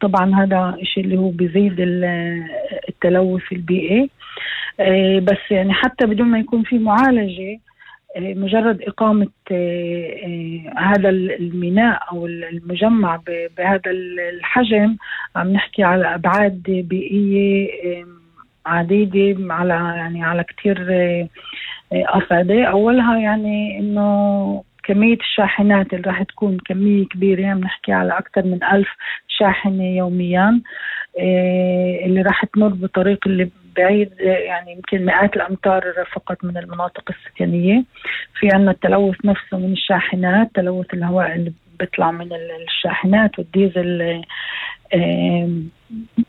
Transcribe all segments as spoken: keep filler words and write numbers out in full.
وطبعا هذا الشيء اللي هو بيزيد التلوث البيئي. بس يعني حتى بدون ما يكون في معالجة، مجرد إقامة هذا الميناء أو المجمع بهذا الحجم عم نحكي على أبعاد بيئية عديدة، على يعني على كتير أصعدة. أولها يعني إنه كمية الشاحنات اللي راح تكون كمية كبيرة، عم نحكي على أكثر من ألف شاحنة يوميا اللي راح تمر بطريق اللي بعيد يعني يمكن مئات الأمتار فقط من المناطق السكنية. في عنا التلوث نفسه من الشاحنات، تلوث الهواء اللي بيطلع من الشاحنات والديزل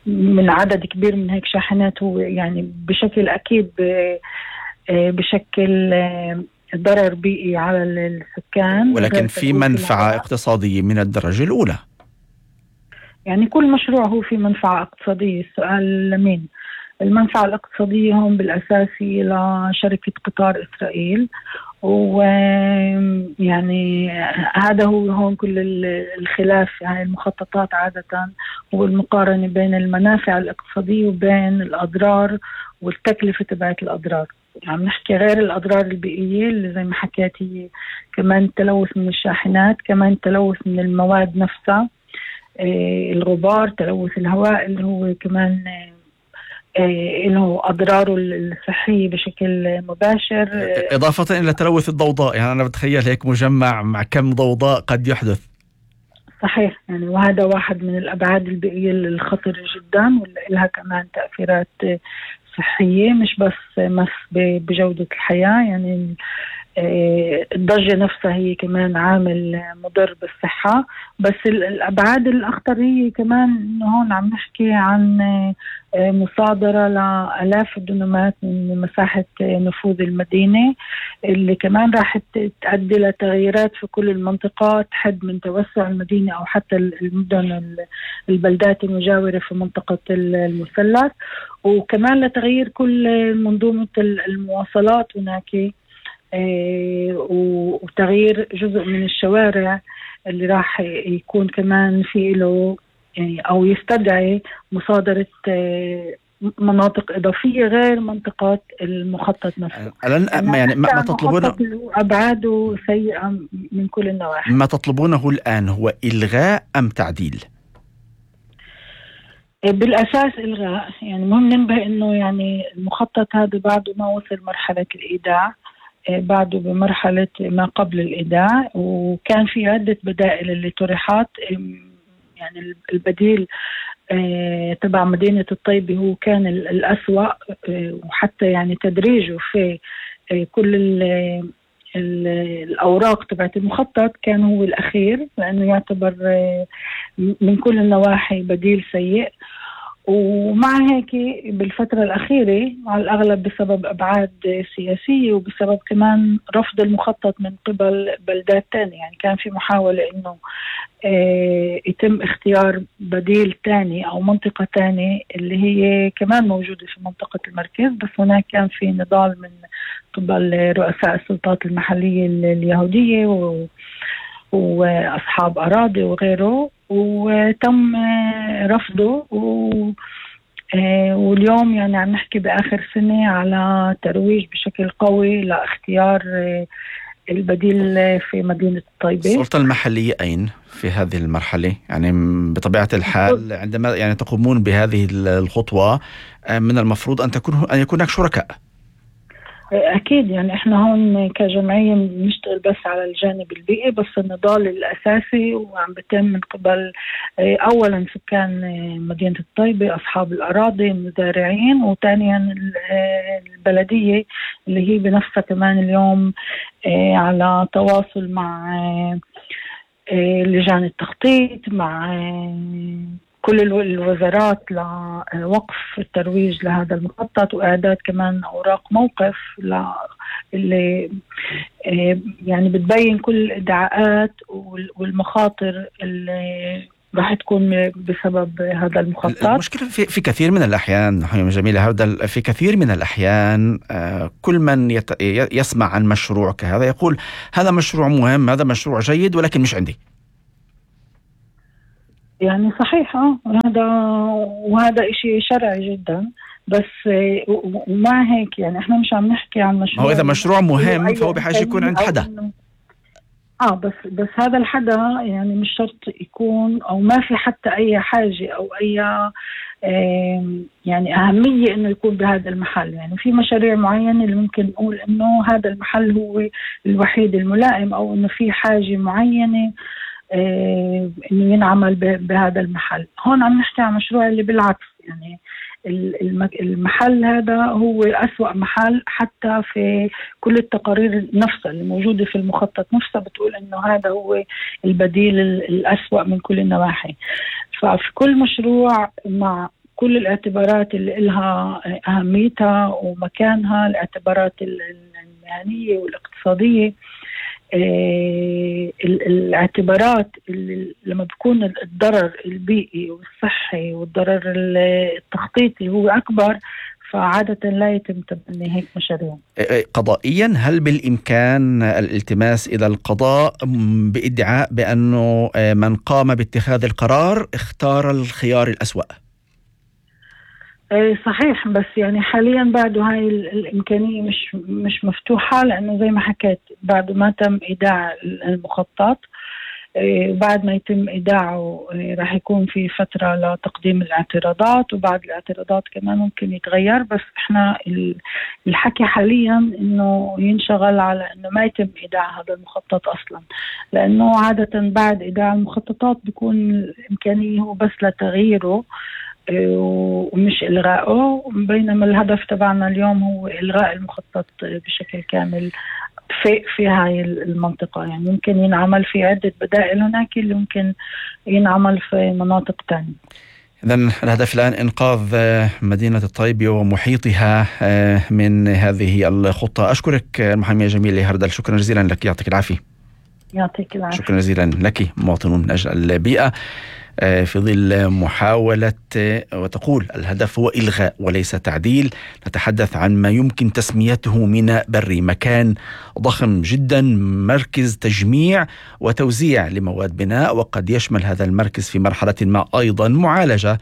من عدد كبير من هيك شاحنات، هو يعني بشكل أكيد بشكل ضرر بيئي على السكان. ولكن في منفعة اقتصادية من الدرجة الأولى. يعني كل مشروع هو في منفعة اقتصادية. السؤال لمين؟ المنفعة الاقتصادية هون بالأساس لشركة قطار إسرائيل، ويعني هذا هو هون كل الخلاف. يعني المخططات عادة هو المقارنة بين المنافع الاقتصادية وبين الأضرار والتكلفة تبعت الأضرار. عم يعني نحكي غير الأضرار البيئية اللي زي ما حكيت، هي كمان تلوث من الشاحنات، كمان تلوث من المواد نفسها، إيه الغبار، تلوث الهواء اللي هو كمان إيه له أضراره الصحية بشكل مباشر، إضافة إلى تلوث الضوضاء. يعني أنا بتخيل هيك مجمع مع كم ضوضاء قد يحدث. صحيح، يعني وهذا واحد من الأبعاد البيئية الخطرة جدا، ولها كمان تأثيرات صحية مش بس مس بجودة الحياة. يعني الضجة نفسها هي كمان عامل مضر بالصحة. بس الأبعاد الأخطر هي كمان إنه هون عم نحكي عن مصادرة لآلاف الدنومات من مساحة نفوذ المدينة، اللي كمان راح تؤدي لتغييرات في كل المنطقة، تحد من توسع المدينة أو حتى المدن البلدات المجاورة في منطقة المثلث، وكمان لتغيير كل منظومة المواصلات هناك، وتغيير جزء من الشوارع اللي راح يكون كمان في له يعني أو يستدعي مصادرة مناطق إضافية غير منطقة المخطط نفسه. يعني, يعني ما, ما تطلبونه أبعاده سيئة من كل النواحي. ما تطلبونه الآن هو إلغاء أم تعديل؟ بالأساس إلغاء. يعني مهم ننبه إنه يعني المخطط هذا بعده ما وصل مرحلة الإيداع، بعده بمرحلة ما قبل الإيداع، وكان في عدة بدائل اللي طرحت. يعني البديل تبع مدينة الطيبة هو كان الأسوأ، وحتى يعني تدريجه في كل ال ال الأوراق تبعت المخطط كان هو الأخير، لأنه يعتبر من كل النواحي بديل سيء. ومع هيك بالفترة الأخيرة على الأغلب بسبب أبعاد سياسية وبسبب كمان رفض المخطط من قبل بلدات تانية، يعني كان في محاولة إنه اه يتم اختيار بديل تاني أو منطقة تانية اللي هي كمان موجودة في منطقة المركز، بس هناك كان في نضال من قبل رؤساء السلطات المحلية اليهودية و وأصحاب أراضي وغيره، وتم رفضه. واليوم يعني عم نحكي بآخر سنة على ترويج بشكل قوي لاختيار البديل في مدينة الطيبة. السلطة المحلية أين في هذه المرحلة؟ يعني بطبيعة الحال عندما يعني تقومون بهذه الخطوة من المفروض أن تكون أن يكون هناك شركاء. أكيد، يعني إحنا هون كجمعية بنشتغل بس على الجانب البيئي، بس النضال الأساسي وعم بتم من قبل أولا سكان مدينة الطيبة، أصحاب الأراضي، المزارعين، وثانيا البلدية اللي هي بنفسها كمان اليوم على تواصل مع لجان التخطيط، مع كل الوزارات لوقف الترويج لهذا المخطط وإعداد كمان أوراق موقف اللي يعني بتبين كل الإدعاءات والمخاطر اللي راح تكون بسبب هذا المخطط. المشكلة في, في كثير من الأحيان حيوم جميلة، هذا في كثير من الأحيان كل من يت يسمع عن مشروع كهذا يقول هذا مشروع مهم، هذا مشروع جيد، ولكن مش عندي. يعني صحيح اه هذا وهذا إشي شرعي جدا، بس ومع هيك يعني احنا مش عم نحكي عن مشروع. هو إذا مشروع مهم فهو بحاجة يكون عند حدا. اه بس بس هذا الحدا يعني مش شرط يكون، او ما في حتى اي حاجة او اي يعني اهمية انه يكون بهذا المحل. يعني في مشاريع معينة اللي ممكن نقول انه هذا المحل هو الوحيد الملائم، او انه في حاجة معينة انه ينعمل بهذا المحل. هون عم نحكي عن مشروع اللي بالعكس، يعني المحل هذا هو أسوأ محل، حتى في كل التقارير نفسها اللي موجودة في المخطط نفسها بتقول إنه هذا هو البديل الأسوأ من كل النواحي. ففي كل مشروع مع كل الاعتبارات اللي إلها أهميتها ومكانها، الاعتبارات المهنية والاقتصادية، الاعتبارات اللي لما بيكون الضرر البيئي والصحي والضرر التخطيطي هو أكبر، فعادة لا يتم تبني هيك مشاريع. قضائيا هل بالإمكان الالتماس إلى القضاء بإدعاء بأنه من قام باتخاذ القرار اختار الخيار الأسوأ؟ صحيح، بس يعني حاليا بعد هاي الإمكانية مش مش مفتوحة، لأنه زي ما حكيت بعد ما تم إيداع المخطط. بعد ما يتم إيداعه راح يكون في فترة لتقديم الاعتراضات، وبعد الاعتراضات كمان ممكن يتغير. بس إحنا الحكي حاليا إنه ينشغل على إنه ما يتم إيداع هذا المخطط أصلا، لأنه عادة بعد إيداع المخططات بيكون الإمكانية هو بس لتغييره ومش إلغائه، بينما الهدف تبعنا اليوم هو إلغاء المخطط بشكل كامل في في هاي المنطقة. يعني ممكن ينعمل في عدة بدائل هناك اللي ممكن ينعمل في مناطق تانية. إذن الهدف الآن إنقاذ مدينة الطيبة ومحيطها من هذه الخطة. أشكرك المحامية جميلة هردل، شكرا جزيلا لك، يعطيك العافية. يعطيك العافية. شكرا جزيلا لك. مواطنون من أجل البيئة في ظل محاولة، وتقول الهدف هو إلغاء وليس تعديل. نتحدث عن ما يمكن تسميته ميناء بري، مكان ضخم جدا، مركز تجميع وتوزيع لمواد بناء، وقد يشمل هذا المركز في مرحلة ما أيضا معالجة،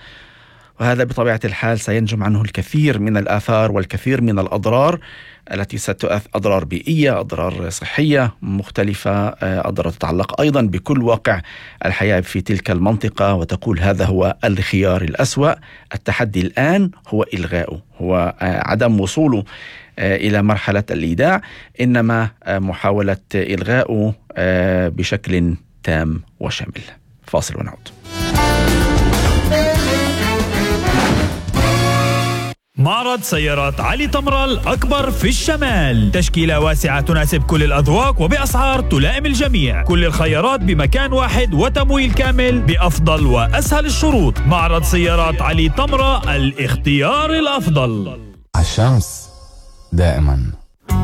وهذا بطبيعة الحال سينجم عنه الكثير من الآثار والكثير من الأضرار التي ستؤثر، أضرار بيئية، أضرار صحية مختلفة، أضرار تتعلق أيضا بكل واقع الحياة في تلك المنطقة. وتقول هذا هو الخيار الأسوأ. التحدي الآن هو إلغاؤه، هو عدم وصوله إلى مرحلة الإيداع، إنما محاولة إلغاؤه بشكل تام وشامل. فاصل ونعود. معرض سيارات علي طمرة الأكبر في الشمال، تشكيلة واسعة تناسب كل الأذواق وبأسعار تلائم الجميع، كل الخيارات بمكان واحد وتمويل كامل بأفضل وأسهل الشروط. معرض سيارات علي طمرة، الاختيار الأفضل. الشمس دائما